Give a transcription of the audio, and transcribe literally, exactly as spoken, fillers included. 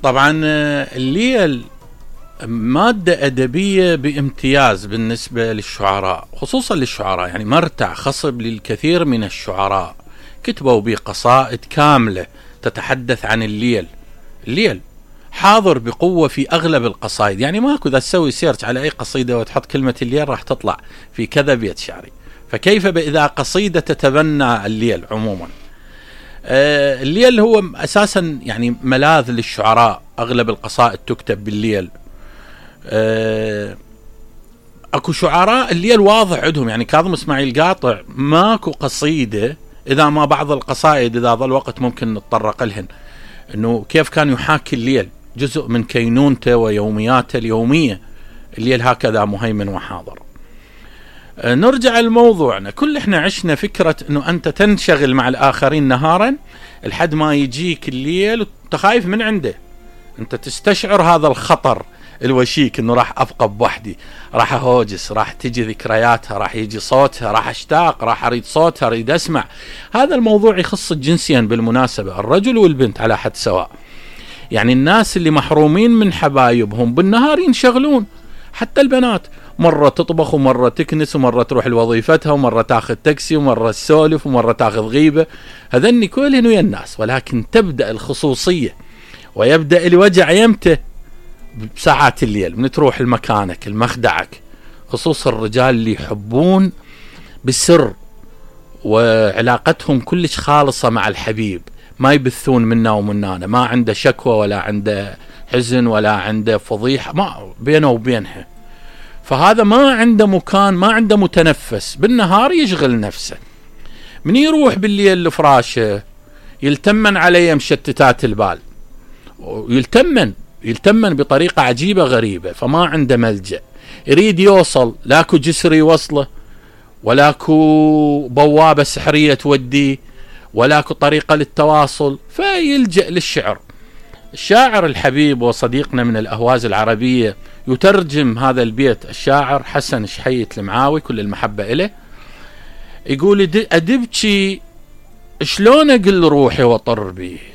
طبعا الليل مادة أدبية بامتياز بالنسبة للشعراء، خصوصا للشعراء، يعني مرتع خصب للكثير من الشعراء، كتبوا بقصائد كاملة تتحدث عن الليل. الليل حاضر بقوة في أغلب القصائد، يعني ماكو إذا تسوي سيرش على أي قصيدة وتحط كلمة الليل راح تطلع في كذا بيت شعري، فكيف بإذا قصيدة تتبنى الليل عموما. آه الليل هو أساسا يعني ملاذ للشعراء، أغلب القصائد تكتب بالليل. آه اكو شعراء الليل واضح عندهم، يعني كاظم اسماعيل قاطع ماكو قصيدة إذا ما بعض القصائد إذا ظل وقت ممكن نتطرق لهن، إنه كيف كان يحاكي الليل جزء من كينونته ويومياته اليومية. الليل هكذا مهيمن وحاضر. أه نرجع لموضوعنا، كل احنا عشنا فكرة إنه أنت تنشغل مع الآخرين نهارا لحد ما يجيك الليل وأنت خايف من عنده، أنت تستشعر هذا الخطر الوشيك إنه راح أبقى بوحدي، راح أهوجس، راح تجي ذكرياتها، راح يجي صوتها، راح أشتاق، راح أريد صوتها، أريد أسمع. هذا الموضوع يخص جنسيا بالمناسبة، الرجل والبنت على حد سواء. يعني الناس اللي محرومين من حبايبهم بالنهار ينشغلون، حتى البنات مرة تطبخ ومرة تكنس ومرة تروح لوظيفتها ومرة تاخذ تاكسي ومرة تسولف ومرة تاخذ غيبة، هذني كلهن ويا الناس. ولكن تبدأ الخصوصية ويبدأ الوجع يمتى؟ بساعات الليل، من تروح لمكانك المخدعك، خصوصا الرجال اللي يحبون بالسر وعلاقتهم كلش خالصة مع الحبيب، ما يبثون منا ومنانا، ما عنده شكوى ولا عنده حزن ولا عنده فضيحة ما بينه وبينها. فهذا ما عنده مكان، ما عنده متنفس، بالنهار يشغل نفسه، من يروح بالليل لفراشه يلتمن عليه مشتتات البال، ويلتمن يلتمن بطريقة عجيبة غريبة، فما عنده ملجأ، يريد يوصل، لاكو جسر يوصله، ولاكو بوابة سحرية توديه، ولاكو طريقة للتواصل، فيلجأ للشعر. الشاعر الحبيب وصديقنا من الأهواز العربية يترجم هذا البيت، الشاعر حسن شحيت المعاوي كل المحبة إليه، يقول: أدبكي شلون أقل روحي وطر بيه،